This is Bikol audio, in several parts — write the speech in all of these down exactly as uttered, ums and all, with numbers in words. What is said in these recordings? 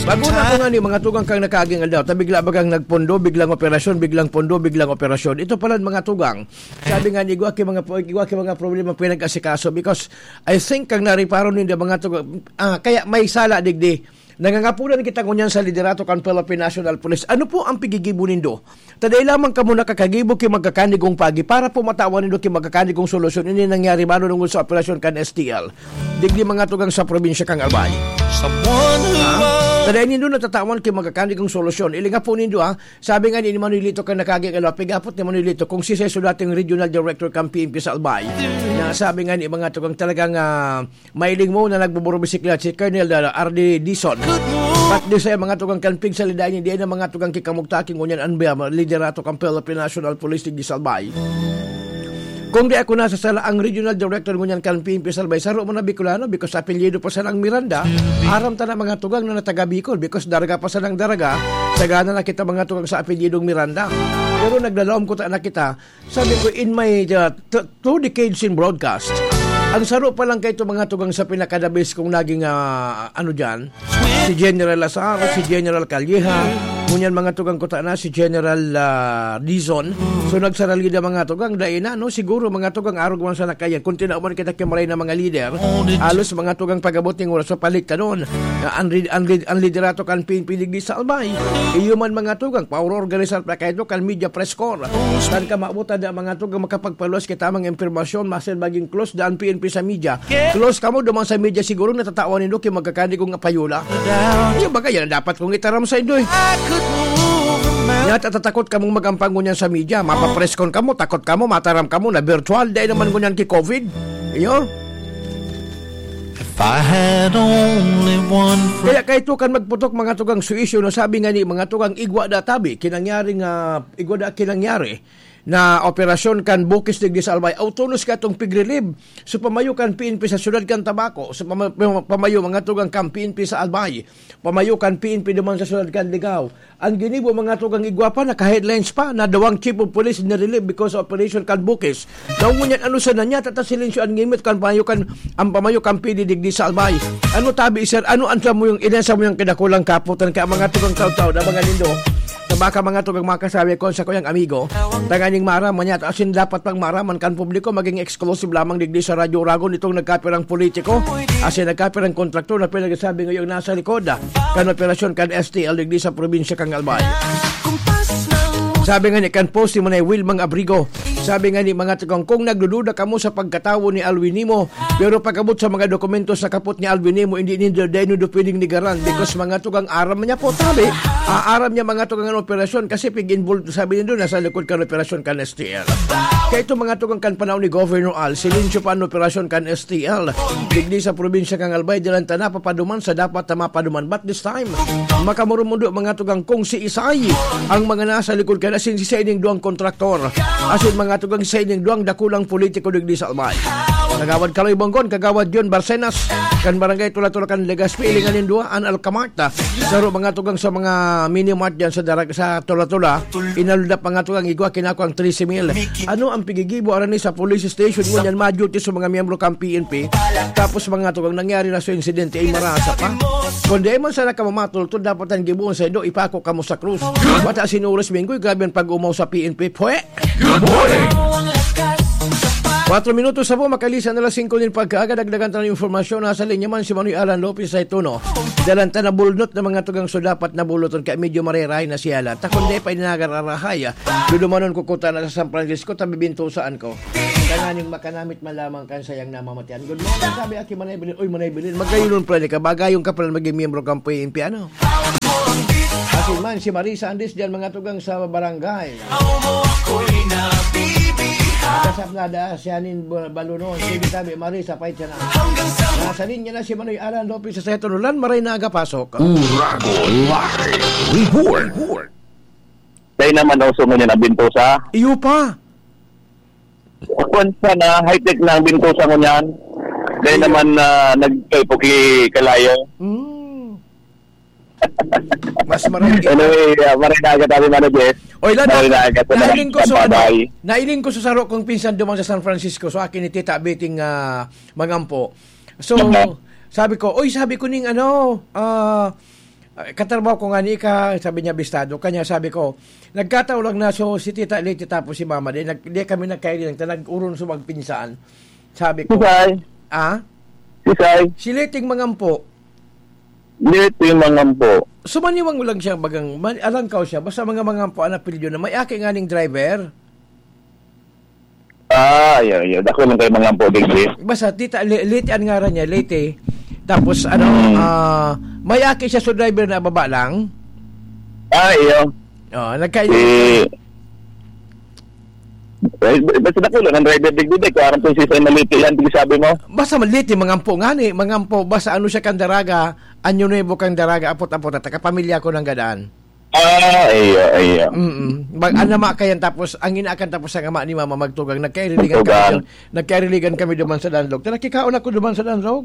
Bago na ako nga ni mga tugang kang nakaaging aldaw, ta bigla bagang nagpondo, biglang operasyon, biglang pondo, biglang operasyon. Ito pala mga tugang. Sabi nga ni, igwa ki mga, igwa ki mga problema pinag-asikaso because I think kang nariparo ninda mga tugang, ah, kaya may sala digdi. Nangangapunan kita ngunyan sa liderato kan Philippine National Police. Ano po ang pigigibo nindo? Taday lamang kamo nakakagibo ki magkakanigong pagi para po matawan nindo ki magkakanigong solusyon. Ini nangyari mano nungod sa operasyon kan S T L. Digdi mga tugang sa probinsya kang Albay. Someone who Ah? Taday nindo natatawan ki magkakanigong solusyon. Ilinga po nindo, ah. Sabi nga ni Manuelito kang nakagigalaw, pigapot ni Manuelito kung si Seso dating regional director kan P N P sa Albay. Na sabi nga ni mga tugang talagang, ah, mailing mo na nagbuburubisikleta si Colonel, ah, R D Dizon. Pat di sa mga tugang kan pigsalida ini, di na mga tugang kikamugtaki ngunyan an biya liderato kan Philippine National Police digdi sa Albay. Kung di ako nasasala, ang regional director ngunyan kan P N P sa Albay, saro man na Bicolano, because apelyido pa sanang Miranda. Aram ta na mga tugang na nataga Bicol, because Daraga pa sanang Daraga, sagana na kita mga tugang sa apelyidong Miranda. Pero naglalaom ko ta na kita, sabi ko, in my, uh, t-, two decades in broadcast, ang saro pa lang kaito mga tugang sa pinaka-the best kong naging, ah, ano dyan, si General Lazaro, si General Calleja, ngunyan mga tugang ko ta na, si General, ah, Dizon. So, nagsaralida mga tugang, dai na, no? Siguro mga tugang, arog man sa nakayan. Kung tinauman kita ki maray na mga lider, alos mga tugang pag-abot ning oras, papaliktanon. Ah, ang rid-, ang rid-, ang liderato kan P N P digdi sa Albay. Iyo man mga tugang, paoro-organisar pa kayo kan media press corps. Saan ka maabot na mga tugang makapagpaluwas kita mga impormasyon, masil maging close daan P N P sa media. Close kamo duman sa media, siguro natatawan nindo ki magkakanigong apayula. Iyo ba kaya na dapat kong itaram sa indo eh? Nya tatatakot kamong magampang ngunyan sa media. Mapapreskon kamo, takot kamo, mataram kamo na virtual, dai naman ngunyan ki COVID. Iyo? If I had only one friend. Kaya kaito kan magputok mga tugang suisyo na sabi nga ni mga tugang igwa da tabi, kinangyari nga, igwa da kinangyari na operasyon kan Bukis digdi sa Albay, autonomous ka itong pig-relieve. So pamayo kan P N P sa siyudad kan Tabaco, so pama-, pama-, pamayo mga tugang kan P N P sa Albay, pamayo kan P N P duman sa siyudad kan Ligao. Ang ginibo mga tugang igwa pa, naka-headlines pa, na dawang chief of police na-relieve because of operation kan Bukis. Daw ngunyan, ano sa nanya, tata silensyo an ngimit kan pamayo kan, ang pamayo kan P D digdi sa Albay. Ano tabi, sir? Ano ang sa mo yung, ina sa mo yung kinakulang kaputan kaya mga tugang taw-taw na mga nindo? Na baka mga tugang makasabi ko sa kuyang amigo, tanganing maaraman niya, asin dapat pang maaraman kan publiko, maging exclusive lamang digdi sa Radyo Uragon itong nagkapirang politiko, asin nagkapirang kontraktor na pinagsasabi ngayong nasa likod, ah, kan operasyon kan S T L digdi sa probinsya kan Albay. Sabi nga ni kan post ni Manay Wilmang Abrigo, sabi nga ni mga tugang, kung nagdududa kamo sa pagkatawo ni Alwin Nimo, pero pag-abot sa mga dokumento sa kapot ni Alwin Nimo, hindi nindo, dai nindo pwedeng nigaran because mga tugang aram niya po, sabi, ah, aram niya mga tugang ang operasyon kasi pig-involved, sabi nindo, nasa likod kan operasyon kan S T L. Kaya ito mga tugang kan panahon ni Governor Al, silensyo pa ang operasyon kan S T L. Digdi sa probinsya kan Albay, dalan ta na papaduman sa dapat na mapaduman. But this time, makamurumundo mga tugang kung si Isay ang mga nasa likod kan asin si Saining Duang kontraktor. Asin mga tugang Saining Duang dakulang politiko digdi sa Albay. Kagawad Kaloy Bonggon, Kagawad John Barcenas, kan Barangay Tula-Tula kan Legazpi, ilingan nin duwa, an Alkamarta. Saro mga tugang sa mga mini mart dyan sa darag-, sa Tula-Tula, inalda pa nga tugang igwa, kinako ang trese mil. Ano ang pigigibo arani sa police station mo niyan, ma-duty sa mga miyembro kang P N P? Tapos mga tugang nangyari na sa insidente ay marasa pa. Kung di man sana ka mamatultol, dapat ang gibuon sa indo, ipako kamo sa krus. Bata sinuros minggoy, grabe ang pag-umaw sa P N P. Pwe! Good morning! Kwatro minutos na po, makalisan na alas singko nin pagkaaga, dagdagan tayo ng impormasyon. Nasa linya man si Manoy Alan Lopez sa Ituno. Dalan ta na bulnot na mga tugang so dapat na buluton, kaya medyo mareray na siya lang. Takon di pa ininagararahay, ah. Dudumanon ko kuta na sa San Francisco, tabi bintusaan ko. Tanganing makanamit man lamang kan sayang namamatian. Good morning, sabi, Aki Manay Bilin. Uy, Manay Bilin, magayunon pala ni ka. Bagayon ka pala maging miyembro kang P N P, ano? Asin man, si Marisa Andres diyan, mga tugang sa barangay. Kasap na da, si Anin Ba-, Balunon. Sige, tabi, Marisa, pait siya na. Nasa linya na si Manoy Alan Lopez sa Seto Nulan, maray na aga pasok. Uragon Live Report. Dahil naman, uso mo niya na bintusa. Iyo pa. Kwan pa na, high-tech na ang bintusa mo niyan. Dahil Iyo. naman, ah, nagkaipuki kalayo. Mm. Mas marami. Anyway, ah, maray na aga tabi, Mano Jess. Oy, Lada, Maray na aga sa mga nailing ko sa, ano, bye-bye. nailing ko sa saro kong pinsan duman sa San Francisco. So, akin ni Tita Beting, ah, mangampo. So, Mhm. Sabi ko, "Uy," sabi ko, "ning ano, ah, ah, katrabaho ko nga ni ka," sabi niya, "bistado ka niya." Sabi ko, "Nagkataon lang na, so, si Tita Leti tapos si Mama, di, nag-, di kami nagkairilang, ta nag-uron sa magpinsan." Sabi ko, Sisay? "Ah?" Sisay? Si Leting Mangampo. Leting Mangampo. So, maniwang lang siya, bagang, man-, alangkaw siya, basta mga Mangampo ang apelyido na may aki nga ning driver. Ah, iyo, iyo. Dako lang kay Mangampo, digdi. Basta, Tita, Le-, Leti ang ngaran niya, Leti. Tapos, ano, Hmm. ah, may aki siya, so driver na baba lang. Ah, iyo. Oh, nagka- Si, eh, basta dako lang ang driver, digdi, di ko aram kung sisay na Leti yan, di sabi mo. Basta ma-, Leti, Mangampo nga ni, Mangampo, basta ano siya kan Daraga, Año Nuevo kan Daraga, apot-apot, at kapamilya ko ng gadaan. Ah, iyo, iyo. Mm-mm. Mag-, ang ama kayan, tapos ang ina kan, tapos ang ama ni Mama magtugang. Nagkairiligan kami Magtugang. dyan. Nagkairiligan kami duman sa Danlog. Ta nakikaon ako duman sa Danlog.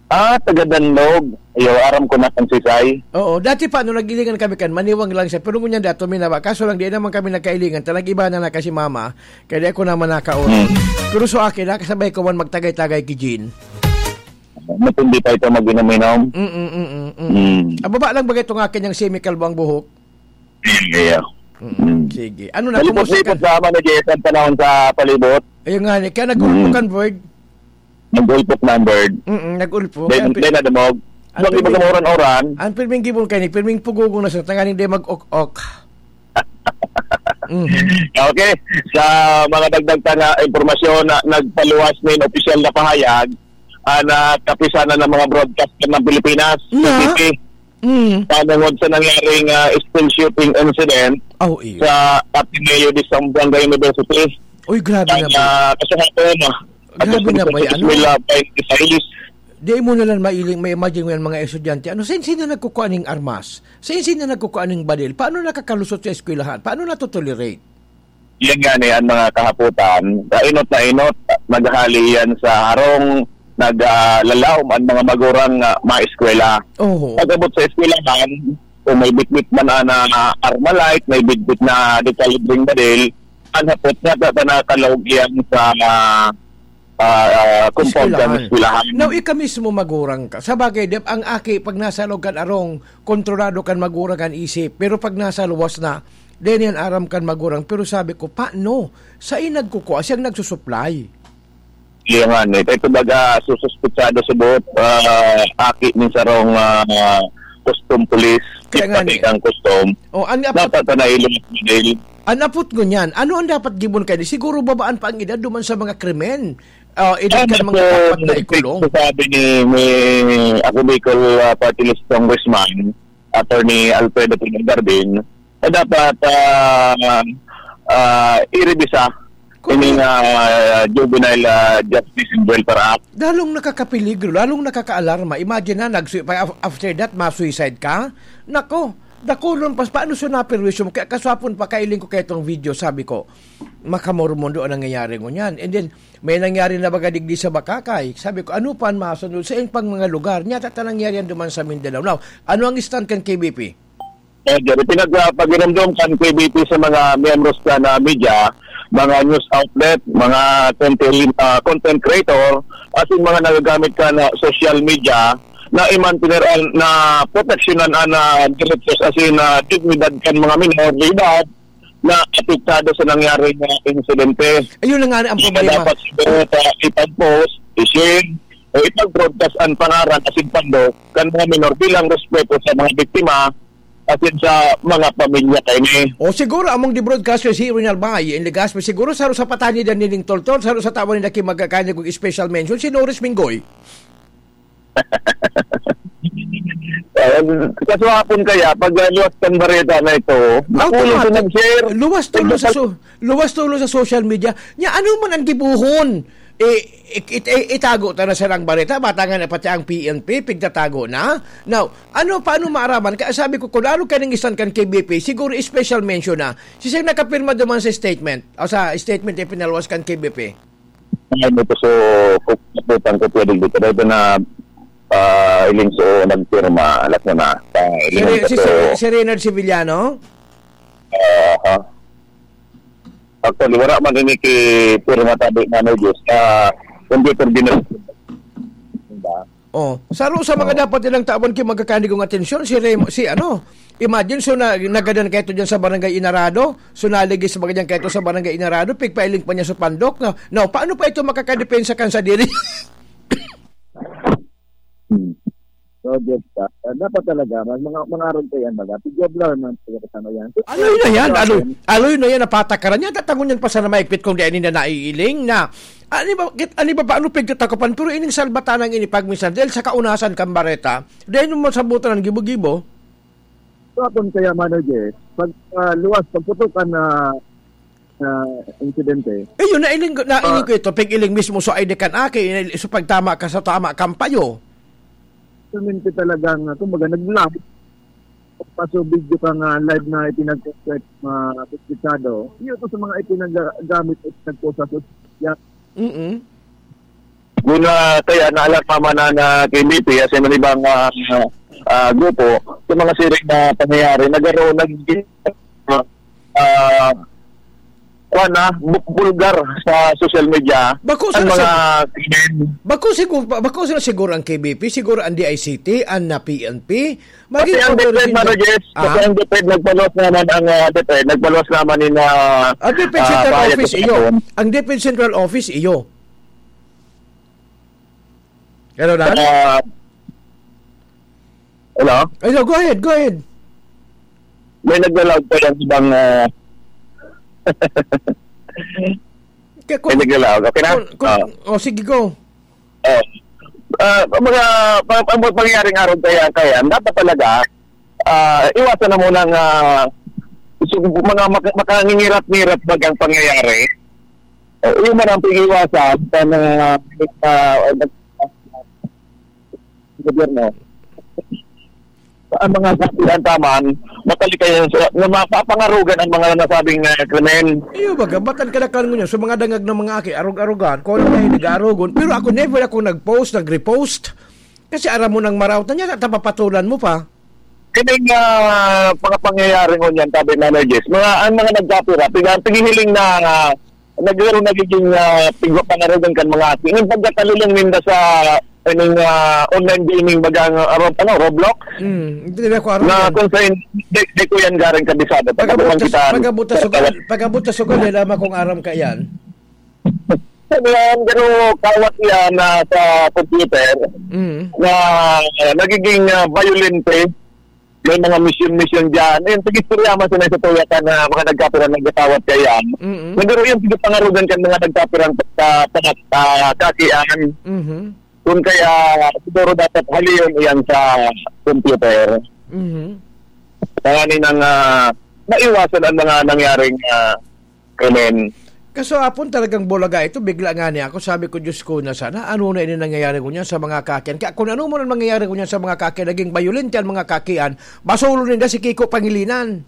Ah, taga Danlog. Iyo, aram ko na kung sisay. Oo, dati pa, nung nag-ilingan kami kan, maniwang lang siya. Pero ngunyan dato, minaba. Kaso lang, di naman kami nagkailingan. Ta nag-iba na na kasi Mama. Kaya di ako naman nakaon. Hmm. Pero so akin, nakasabay ko man magtagay-tagay ki Jean. Matindi pa ito mag-inom-inom. Mm, mm, mm, mm. Mm. Ang baba lang bagay itong akin, yung semi-kalbo ang buhok. Mm, iya. Mm, Mm. sige. Ano na, kumusta ka? Malipot-lipot sa Manigis ang panahon sa palibot. Ayun nga, ni-, kaya nag-ulpo Mm. kan bird. Nag-ulpok na ang bird. Mm, nag-ulpo. Then, Kaya pi-, then nadumog. Ang Huwag pirming, iba kumuran-uran. ang pirming gibon kayo ni, pirming pugugong na sa tanganing di mag-ok-ok. Mhm. Okay. Sa mga dagdag pa na impormasyon na nagpaluwas nin opisyal na pahayag, ah, na kapisanan ng mga broadcaster ng Pilipinas, Na? C C T, Mm. panungod sa nangyaring, ah, school shooting incident Aw, iyo. sa Ateneo de Zamboanga University. Uy, grabe Ang, na ba? ah, kasi nga po, no, Grabe na ba yan, ano? Eskwela twenty six. Di mo na lang mailing, may imagine mo yan, mga estudyante. Ano, sin-, sino nagkukuha ning armas? Sin-, sino nagkukuha ning baril? Paano nakakalusot sa eskwelahan? Paano natotolerate? Yan nga ni ang mga kahapotan. Kainot na inot, naghahali yan sa harong, nag, ah, lalaom ang mga magurang, ah, maeskwela. Oho. Pag-abot sa eskwelahan, kung may bitbit man na, na Armalite, may bitbit na dekalibreng baril, ang hapot nga, ta-, ta-, nakalaog yan sa, ah, ah, ah, compound kan Eskwelahan. eskwelahan. Now, ika mismo magurang ka. Sa bagay, di ba, ang aki, pag nasa loob kan arong, kontrolado kan magurang kan isip. Pero pag nasa luwas na, di niyan aram kan magurang. Pero sabi ko, "Paano? Sa inag ko ko, siyang nagsusupply." Iya nga ni. Kaya kumbaga, sususpitsado sa buot, ah, aki ni sarong, ah, custom police, Kaya nga ni. Pati kang custom. Oh, ang Dapat na ilong model. Ang apot ngunyan, ano ang dapat gibon kayo? Siguro babaan pa ang edad duman sa mga krimen. Ah, edad Ano ka mga po, dapat na ikulong? Sabi ni, ni ako Bicol, ah, Party List Congressman, Attorney Alfredo Pino Garbin, na dapat, ah, ah, irebisa Kung ining, ah, Juvenile, ah, Justice and Welfare Act. Lalong nakakapeligro, lalong nakakaalarma. Imagine na, nagsu-, pa-, af-, after that, ma-suicide ka? Nako, dakulon pas, paano siya naperwisyo mo? Kaya kaswapon pa, kailing ko kaya itong video, sabi ko, "Makamormondo ang nangyayari ngunyan." And then, may nangyari na baga digdi sa Bakakay. Sabi ko, "Ano pa ang masunod sa iyang pang mga lugar?" Nyata ta nangyari yan duman sa Mindanao. Now, ano ang stand kan K B P? Eh, Jerry, pinagpaginumdum kan K B P sa mga miyembros kan, ah, media, mga news outlet, mga content, ah, content creator, asin mga nagagamit kan, ah, social media, na imantener an, na proteksyonan an, ah, derechos asin, ah, dignidad kan mga minor de edad na apektado sa nangyaring, ah, insidente. Ayun na nga ang Kaya problema. dapat siguro, ah, ipag-post, i-share, o ipag-broadcast ang pangaran asin pando kan mga minor bilang respeto sa mga biktima asin sa mga pamilya kaini. O siguro among di broadcaster si Ronald Bay in Legazpi, siguro saro sa patani dan nining toltol, saro sa tawa ni Naki magkakanya kung special mention, si Norris Mingoy. Eh, kaswapon kaya, pag, ah, luwas kan bareta na ito, nakulong Automatic. sa nag-share. Luwas tulo sa Nagpapal- so-, luwas tulo sa social media. Nya, ano man ang gibuhon? Eh, it-, it-, eh, itago ta na sarang bareta, bata nga na pati ang P N P, pigtatago na. Now, ano, paano maaraman? Kaya sabi ko, kung lalo ka nang isan kan K B P, siguro special mention na. Siya nakapirma duman sa statement, o sa statement, ipinaluwas kan K B P. Ano ito, so, kung kaputang ko pwede dito, dahil na, ah, iling so, nagpirma, alas mo na, ah, Si iling Re-, ko si, so, si, si Reynald Sevillano? Ah, ha? Actually, wala man ini ki pirma tabi na may Diyos. Ah, computer din na. Oh, saro sa mga Oo. dapat nilang tawan ki magkakanigong atensyon, si Remo, si ano, imagine, so, na, nagadan kayo dyan sa Barangay Inarado, so, naligis sa mga dyan kayo sa Barangay Inarado, pigpailing pa niya sa pandok, no? Now, paano pa ito makakadepensa kan sa diri? Hmm. So, just, ah, dapat talaga, mag-, mga, mga aron kayan, baga, si Joblar man, taga kasama yan. So, Aloy na yan, sa aloy, akin, aloy na yan, napatakaran niya, tatangon yan pa sana maigpit kung di na naiiling na, ani ba, kit-, ani ba, paano pigtatakupan, pero ining salbatanang ini pag minsan, dahil sa kaunasan kan bareta, dahil mo masabutan ang gibo-gibo. So, akon kaya, Mano Jess, pag, ah, luwas, pagputukan na, na insidente. Eh, yun, nailing ko, nailing Ah. ko ito, pag-iling mismo, so, ay di kan aki, so, pagtama ka sa tama kang payo. Actualmente talagang, ah, kumbaga, nag-live. Paso video ka nga live na ipinag-, mga komplikado. Yun to sa mga ipinagamit at nagpost sa social media. Mm-mm. Yun na, kaya naalarma man na, na K B P, as in, ibang, ah, ah, grupo, sa mga siring na pangyayari, nagkaroon, nag-, ah, kuwan na, bu-, bulgar sa social media. Bako ang sa, mga sa, krimen. Bako siguro, ba-, bako sa siguro ang K B P, siguro ang D I C T, ang na P N P, Pati maging ang DepEd, operation Mano sa Jess, Ah? pati ang DepEd, nagpaluwas naman ang, ah, DepEd, nagpaluwas naman ni na, Ang DepEd ah, Central Bayad Office, sa iyo. Kapatid. Ang DepEd Central Office, iyo. Hello, Dan? Ah, hello? Hello, go ahead, go ahead. May nagla-loud pa yung ibang, ah, Kaya kung, may nagla-loud. Okay na? kung, kung, Ah. oh, sige, go. Oh. Ah, mga, pa-, pa-, pangyayaring araw kaya, kaya, dapat talaga, ah, iwasan na muna ang, ah, su-, mga maka-, makangingirat-ngirat bagang pangyayari. Eh, yun man ang pag-iwasan sa mga, ah, gobyerno. Ang mga kapitan taman, matalikay yan sa, na mapapangarugan ang mga nasabing, ah, krimen. Iyo, baga, ba't ang kadakan mo niya? So, mga dangag ng mga aki, arog-arogan, kung ano tayo nag-aarogon. Pero ako, never ako nag-post, nag-repost. Kasi aram mo nang maraot na niya, tapapatulan mo pa. Kining, ah, mga pangyayari ngunyan, sabi, Mano Jess, mga, ang mga nagkapira, pig-, ang pighihiling na, ah, nagkaroon nagiging, ah, pigpapangarugan kan mga aki. Yung pagkakalulong ninda sa, I mean, ah, online gaming, bagang, ah, Rob-, ano, Roblox? Hmm, hindi na ko aram Na yan. kung saan, di, di ko yan garing kabisado. Pag Pag-abot abot sa, kita, pag-abot sa sugal, pag-abot sa sugal, eh, lamang kung aram ka yan. Ano yan, pero kawat yan na sa computer Mm. na, ah, nagiging, ah, violente. May mga mission-mission dyan. Ayun, sige, istorya man sila sa tuya ka na mga nagkapirang nagkatawat kaya. Mm-mm. Nagkaroon yung pagkapangarugan kan mga nagkapirang sa, sa, sa kakian. Mhm. Kung kaya, siguro dapat haliyon iyan sa computer. Mhm. Tanganing, ah, maiwasan ang mga nangyaring, ah, krimen. Kaso apon talagang bulaga ito, bigla nga niya ako, sabi ko, "Diyos ko, na sana, ano na ini nangyayari ko niyan sa mga kakian?" Kaya kung ano man ang nangyayari ko niyan sa mga kakian, naging bayolente ang mga kakian, basolo ninda si Kiko Pangilinan.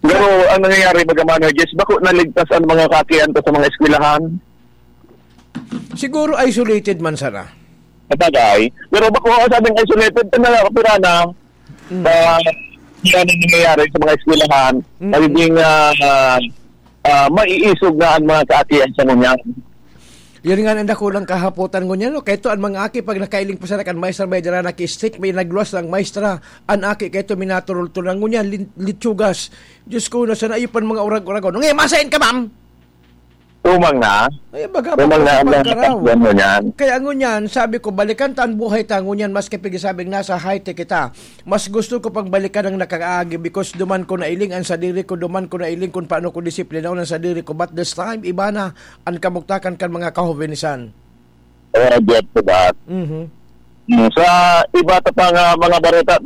Pero ang nangyayari, baga man, Jess, bako naligtas ang mga kakian ko sa mga eskwelahan? Siguro isolated man sana. Sabagay. Pero bako, sabing isolated, ito na, kapira na, Mm. sa, yan ang nangyayari sa mga eskwelahan, Mm. nagiging, ah, ah, maiisog na ang mga kaakian sa ngunyan. Yan nga ang dakulang kahapotan ngunyan, no? Kaya ito, ang mga aki, pag nakailing pa sana kan maestra, may dara na ki-stick, may nagluwas ng maestra, ang aki, kaya ito, minaturultulan ngunyan, lin-, litsugas. Diyos ko, na sana, iyo pan mga urag-uragon. Ngayon, masain ka, ma'am? Tumang na. Ay, baga, Tumang na ang mga pagkaraw. Yan mo niyan. Kaya ngunyan, sabi ko, balikan ta ang buhay ta ngunyan, maski pigsabing nasa high-tech kita. Mas gusto ko pang balikan ang nakaagi because duman ko nailing ang sadiri ko, duman ko nailing kung paano ko disiplinahon ang sadiri ko. But this time, iba na ang kamugtakan kan mga kahobenisan. Oh, get to that. Mhm. Mm, sa iba ta pang, ah, mga bareta,